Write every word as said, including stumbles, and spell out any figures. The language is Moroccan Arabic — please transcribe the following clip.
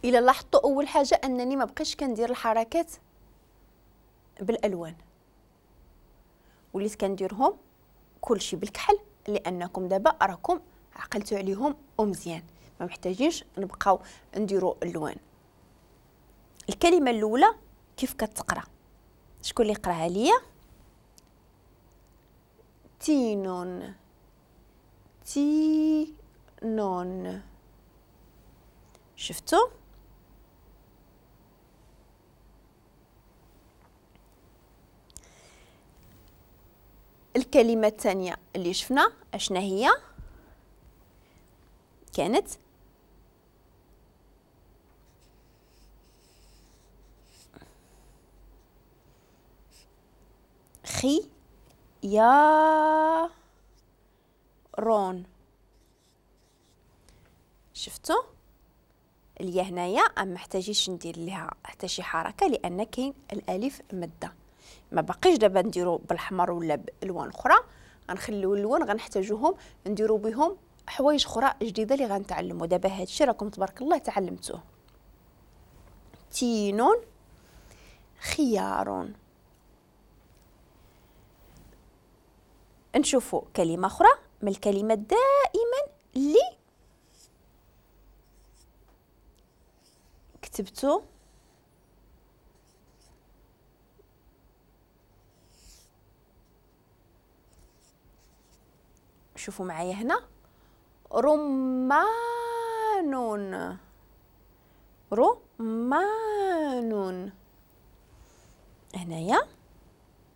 الا لاحظتوا اول حاجة انني ما بقيتش كندير الحركات بالالوان، وليت كنديرهم كلشي بالكحل، لانكم دابا راكم عقلتوا عليهم ومزيان، ما محتاجينش نبقاو نديروا اللوان. الكلمة الاولى كيف كتقرا؟ شكون اللي قراها ليا؟ تينون، تينون. شفتوا؟ الكلمة الثانية اللي شفنا اشنا هي؟ كانت خي يا رون. شفتوا اليا هنايا ما محتاجيش ندير لها حتى شي حركة لان كاين الالف مده. ما باقيش دابا نديرو بالاحمر ولا بالوان اخرى، غنخليو اللوان غنحتاجوهم نديرو بهم حوايج اخرى جديدة اللي غنتعلموا دابا. هادشي راكم تبارك الله تعلمتوه. تينون، خيار. نشوفوا كلمة اخرى من الكلمات دائما اللي كتبتو شوفوا معايا هنا، رمان، رمان. هنايا